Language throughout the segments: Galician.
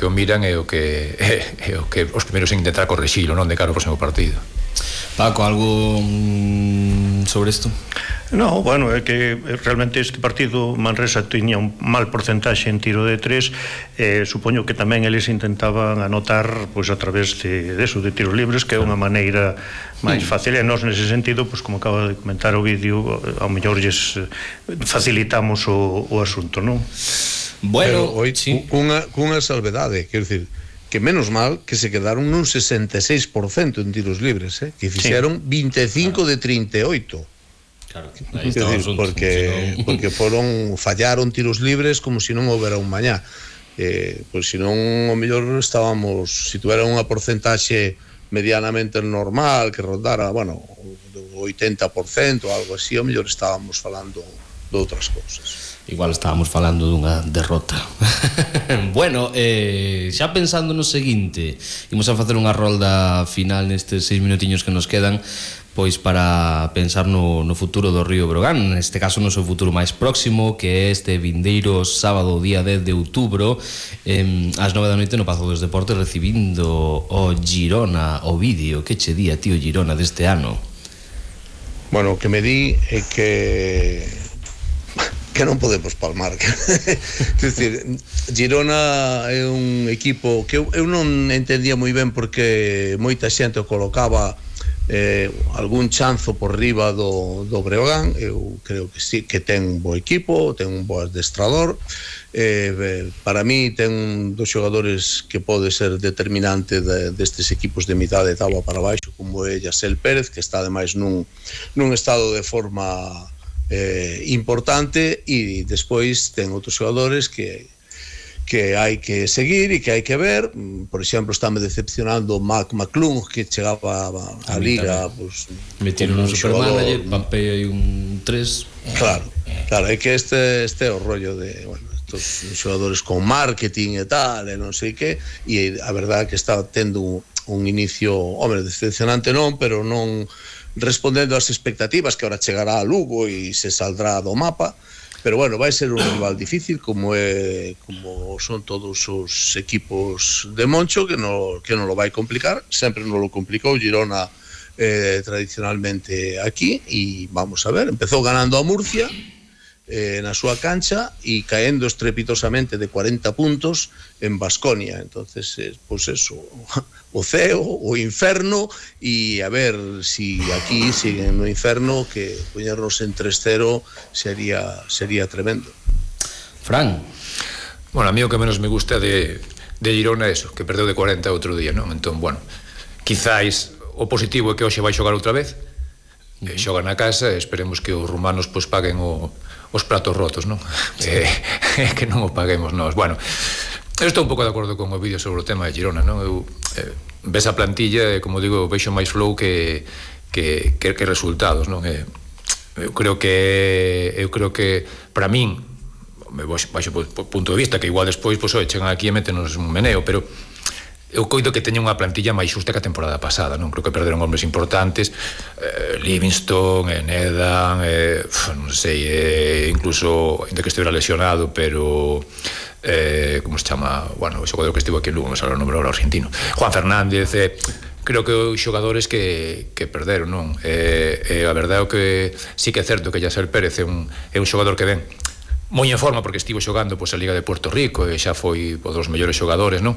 que o miran é o que os primeiros en intentar corrixilo, non, de cara ao próximo partido. Paco, algo sobre isto? No, bueno, é que realmente este partido Manresa tiña un mal porcentaxe en tiro de 3, supoño que tamén eles intentaban anotar pois a través de tiros libres, que é unha maneira máis fácil, e nós nese sentido, pois como acaba de comentar o vídeo, ao mellor lles facilitamos o asunto, non? Bueno, sí. Cunha salvedade, quero dicir, que menos mal que se quedaron nun 66% en tiros libres, que fixeron 25 de 38. Claro, decir, porque fallaron tiros libres como se non houbera un mañá. Pois se non, o mellor estábamos, se tuvera unha porcentaxe medianamente normal, que rondara, bueno, 80% ou algo así, o mellor estábamos falando de outras cousas. Igual estábamos falando dunha derrota. Bueno, xa pensando no seguinte, imos a facer unha rolda final nestes 6 minutiños que nos quedan, pois para pensar no futuro do Río Breogán, neste caso no seu futuro máis próximo, que é este vindeiro sábado, día 10 de outubro, ás 9 da noite no Pazo dos Deportes, recibindo o Girona Ovidio. Que che di a ti o Girona deste ano? Bueno, o que me di é que non podemos palmar. Quer dizer, Girona é un equipo que eu non entendía moi ben porque moita xente o colocaba algún chanzo por riba do Breogán. Eu creo que sí, que ten un bo equipo, ten un bo adestrador. Para mí ten un dos xogadores que pode ser determinante destes equipos de mitad de tabla para baixo, como é Yasel Pérez, que está ademais nun estado de forma importante, e despois ten outros xogadores que hai que seguir e que hai que ver. Por exemplo, estáme decepcionando McClung, que chegaba a Liga, pues, metieron un supermanager, Pampea e un 3. Claro, é que este é o rollo de, bueno, estos xogadores con marketing e tal, e non sei que, e a verdade que está tendo un inicio, hombre, decepcionante non, pero non respondendo ás expectativas, que ahora chegará a Lugo e se saldrá do mapa. Pero bueno, vai ser un rival difícil, como son todos os equipos de Moncho, que non lo vai complicar. Sempre non lo complicou Girona tradicionalmente aquí, e vamos a ver, empezou ganando a Murcia na súa cancha e caendo estrepitosamente de 40 puntos en Baskonia. Entonces, pues eso, o ceo, o inferno, e a ver si aquí siguen no inferno, que poñernos en 3-0 sería tremendo. Fran. Bueno, a mí o que menos me gusta de Girona é eso, que perdeu de 40 outro día, non? Entón, bueno, quizáis o positivo é que hoxe vai xogar outra vez, xoga na casa, e esperemos que os rumanos pois paguen os platos rotos, non? Que non o paguemos nós. Bueno, eu estou un pouco de acordo con o vídeo sobre o tema de Girona, non? Ves a plantilla, como digo, vexo máis flow que resultados, non? Eu creo que para min, baixo o punto de vista, que igual despois chegan aquí e metenos un meneo, pero eu coido que teña unha plantilla máis xusta que a temporada pasada, non? Creo que perderon hombres importantes, Livingston, Nedan, non sei, incluso, ainda que estivera lesionado, pero como se chama, bueno, o xogador que estivo aquí en Lugo, me sale o nombre ahora, argentino, Juan Fernández. Creo que os xogadores que perderon, non? A verdade é que sí que é certo que Yasel Pérez é un xogador que ven moi en forma, porque estivo xogando a Liga de Puerto Rico e xa foi dos mellores xogadores, non?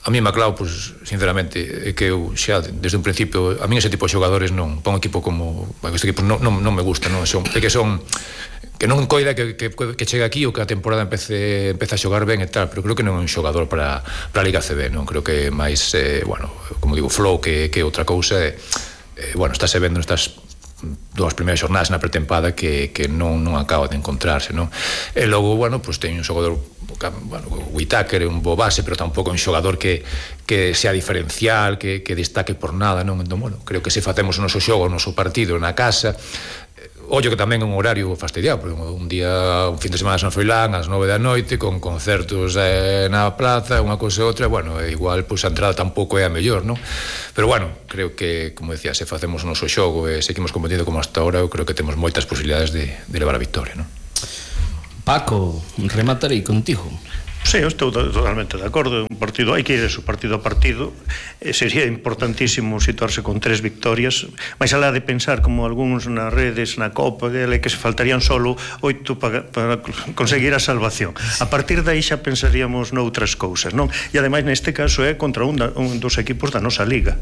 A mí Maclau, pues, sinceramente, é que eu xa desde un principio, a mí ese tipo de xogadores non, para un equipo como este equipo non me gusta, non? Que non coida que chegue aquí ou que a temporada empece a xogar ben e tal, pero creo que non é un xogador para a Liga CB, non? Creo que máis, bueno, como digo, flow que outra cousa, bueno, estáse vendo nestas dúas primeiras xornadas na pretempada que non acaba de encontrarse, non? E logo, bueno, pues ten un xogador, bueno, Whittaker é un bo base, pero tampouco é un xogador que sea diferencial, que destaque por nada, non? Entón, bueno, creo que se facemos o noso xogo, o noso partido na casa, ollo que tamén é un horario fastidiado, porque un fin de semana San Froilán ás 9 da noite, con concertos na plaza, unha cousa e outra, bueno, igual, pois a entrada tampouco é a mellor, non? Pero bueno, creo que, como decía, se facemos o noso xogo e seguimos competindo como hasta ahora, eu creo que temos moitas posibilidades de levar a victoria, non? Paco, rematarei contigo. Sí, eu estou totalmente de acordo. Un partido hai que ir eso, partido a partido. Sería importantísimo situarse con 3 victorias, máis alá de pensar como algúns nas redes, na Copa, que se faltarían solo 8 para conseguir a salvación. A partir de aí xa pensaríamos noutras cousas, non? E ademais neste caso é contra un dos equipos da nosa liga,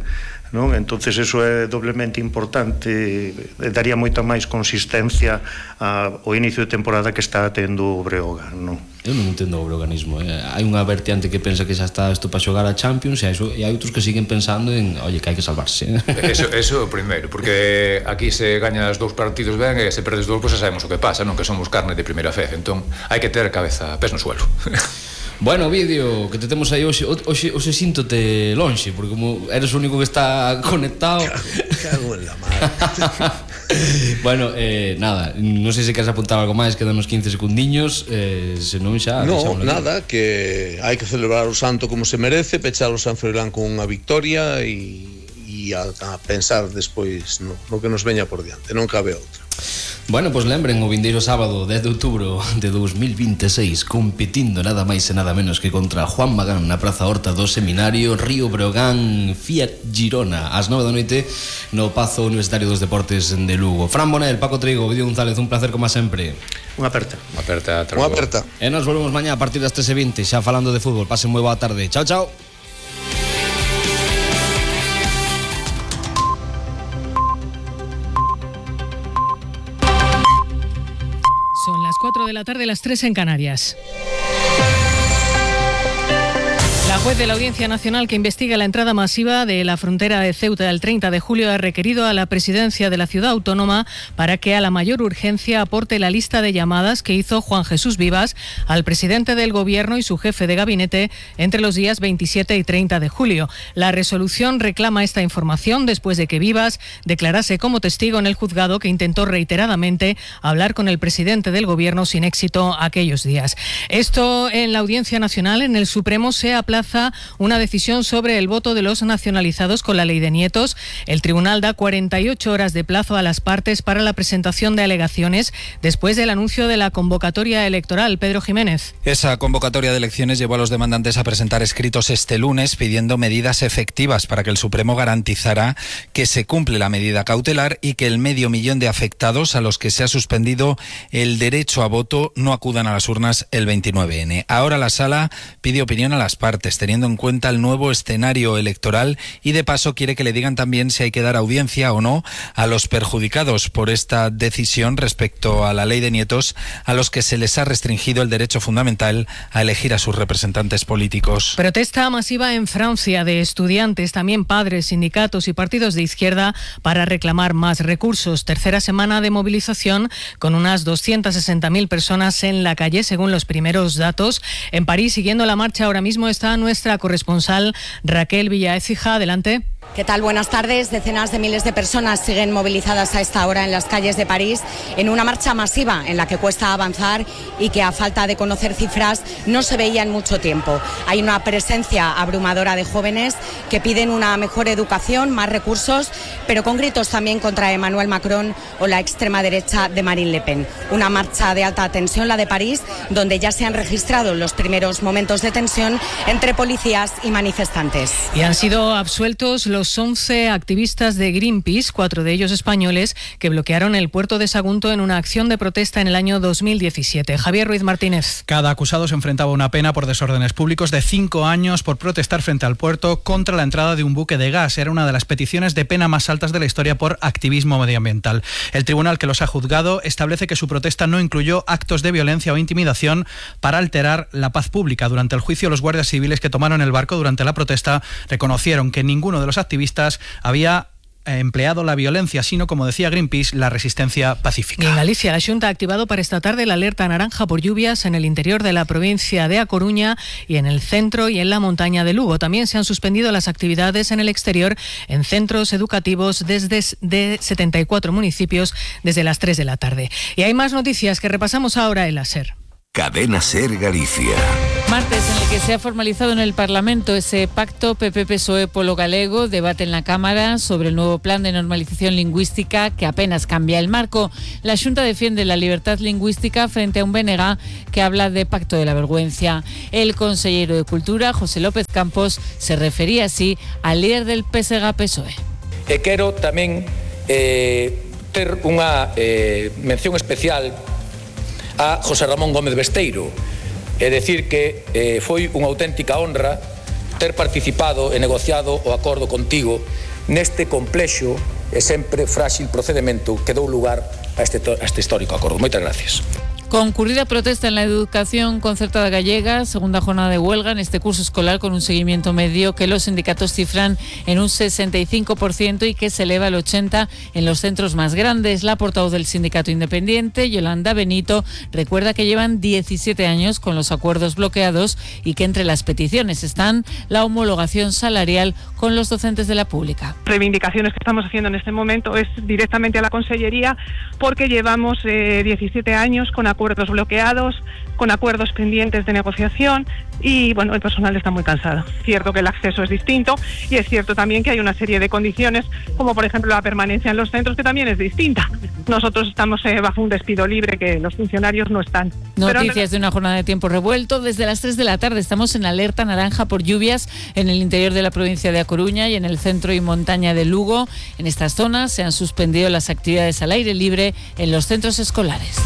non? Entonces eso é doblemente importante, daría moita máis consistencia ao inicio de temporada que está tendo o Breogán, non? Eu non entendo o breoganismo. Hai unha vertiente que pensa que xa está isto para xogar a Champions e hai outros que siguen pensando en, oye, que hai que salvarse. Eso é o primeiro, porque aquí se gañas 2 partidos ben e se perdes 2, pois xa sabemos o que pasa, non? Que somos carne de primeira fe, entón hai que ter cabeza, pés no suelo. Bueno, vídeo que te temos aí hoxe síntote lonxe, porque como eres o único que está conectado. Cago en la madre. Bueno, nada, non sei se queres apuntar algo máis, quedan uns 15 segundiños, senón xa... No, nada, que hai que celebrar o santo como se merece, pechar o San Froilán con unha victoria e a pensar despois no que nos veña por diante, non cabe outra. Bueno, pois lembren o vindeiro sábado 10 de outubro de 2026 competindo nada máis e nada menos que contra Juan Magán na Praza Horta do Seminario, Río Breogán, Fiat Girona ás 9 da noite no Pazo Universitario dos Deportes de Lugo. Fran Bonel, Paco Trigo, Vídeo González, un placer como sempre. Unha aperta. Unha aperta. E nos volvemos mañá a partir das 13:20 xa falando de fútbol. Pasen moi boa tarde. Chao, chao. Son las 4 de la tarde, las 3 en Canarias. La juez de la Audiencia Nacional que investiga la entrada masiva de la frontera de Ceuta el 30 de julio ha requerido a la presidencia de la ciudad autónoma para que a la mayor urgencia aporte la lista de llamadas que hizo Juan Jesús Vivas al presidente del gobierno y su jefe de gabinete entre los días 27 y 30 de julio. La resolución reclama esta información después de que Vivas declarase como testigo en el juzgado que intentó reiteradamente hablar con el presidente del gobierno sin éxito aquellos días. Esto en la Audiencia Nacional. En el Supremo se aplaza una decisión sobre el voto de los nacionalizados con la ley de nietos. El tribunal da 48 horas de plazo a las partes para la presentación de alegaciones después del anuncio de la convocatoria electoral. Pedro Jiménez. Esa convocatoria de elecciones llevó a los demandantes a presentar escritos este lunes pidiendo medidas efectivas para que el Supremo garantizara que se cumple la medida cautelar y que el 500.000 de afectados a los que se ha suspendido el derecho a voto no acudan a las urnas el 29N. Ahora la Sala pide opinión a las partes, teniendo en cuenta el nuevo escenario electoral y de paso quiere que le digan también si hay que dar audiencia o no a los perjudicados por esta decisión respecto a la ley de nietos, a los que se les ha restringido el derecho fundamental a elegir a sus representantes políticos. Protesta masiva en Francia de estudiantes, también padres, sindicatos y partidos de izquierda para reclamar más recursos. Tercera semana de movilización con unas 260.000 personas en la calle según los primeros datos. En París, siguiendo la marcha ahora mismo está nuestra corresponsal Raquel Villaécija. Adelante. ¿Qué tal? Buenas tardes. Decenas de miles de personas siguen movilizadas a esta hora en las calles de París en una marcha masiva en la que cuesta avanzar y que a falta de conocer cifras no se veía en mucho tiempo. Hay una presencia abrumadora de jóvenes que piden una mejor educación, más recursos, pero con gritos también contra Emmanuel Macron o la extrema derecha de Marine Le Pen. Una marcha de alta tensión, la de París, donde ya se han registrado los primeros momentos de tensión entre policías y manifestantes. Y han sido absueltos los 11 activistas de Greenpeace, 4 de ellos españoles, que bloquearon el puerto de Sagunto en una acción de protesta en el año 2017. Javier Ruiz Martínez. Cada acusado se enfrentaba a una pena por desórdenes públicos de 5 años por protestar frente al puerto contra la entrada de un buque de gas. Era una de las peticiones de pena más altas de la historia por activismo medioambiental. El tribunal que los ha juzgado establece que su protesta no incluyó actos de violencia o intimidación para alterar la paz pública. Durante el juicio, los guardias civiles que tomaron el barco durante la protesta reconocieron que ninguno de los activistas había empleado la violencia, sino, como decía Greenpeace, la resistencia pacífica. Y en Galicia, la Xunta ha activado para esta tarde la alerta naranja por lluvias en el interior de la provincia de A Coruña y en el centro y en la montaña de Lugo. También se han suspendido las actividades en el exterior en centros educativos de 74 municipios desde las 3 de la tarde. Y hay más noticias que repasamos ahora en la SER. Cadena Ser Galicia. Martes en el que se ha formalizado en el Parlamento ese pacto PP-PSOE polo galego, debate en la Cámara sobre el nuevo plan de normalización lingüística que apenas cambia el marco. La Xunta defiende la libertad lingüística frente a un BNG que habla de pacto de la vergüenza. El consellero de Cultura, José López Campos, se refería así al líder del PSG-PSOE. E quero tamén ter unha mención especial a José Ramón Gómez Besteiro, é dicir que foi unha auténtica honra ter participado e negociado o acordo contigo neste complexo e sempre frágil procedimento que dou lugar a este histórico acordo. Moitas gracias. Concurrida protesta en la educación concertada gallega, segunda jornada de huelga en este curso escolar con un seguimiento medio que los sindicatos cifran en un 65% y que se eleva al 80% en los centros más grandes. La portavoz del sindicato independiente, Yolanda Benito, recuerda que llevan 17 años con los acuerdos bloqueados y que entre las peticiones están la homologación salarial con los docentes de la pública. Reivindicaciones que estamos haciendo en este momento es directamente a la Consellería porque llevamos 17 años con acuerdos bloqueados, con acuerdos pendientes de negociación y bueno, el personal está muy cansado. Es cierto que el acceso es distinto y es cierto también que hay una serie de condiciones como por ejemplo la permanencia en los centros que también es distinta. Nosotros estamos bajo un despido libre que los funcionarios no están. Noticias de una jornada de tiempo revuelto. Desde las 3 de la tarde estamos en alerta naranja por lluvias en el interior de la provincia de A Coruña y en el centro y montaña de Lugo. En estas zonas se han suspendido las actividades al aire libre en los centros escolares.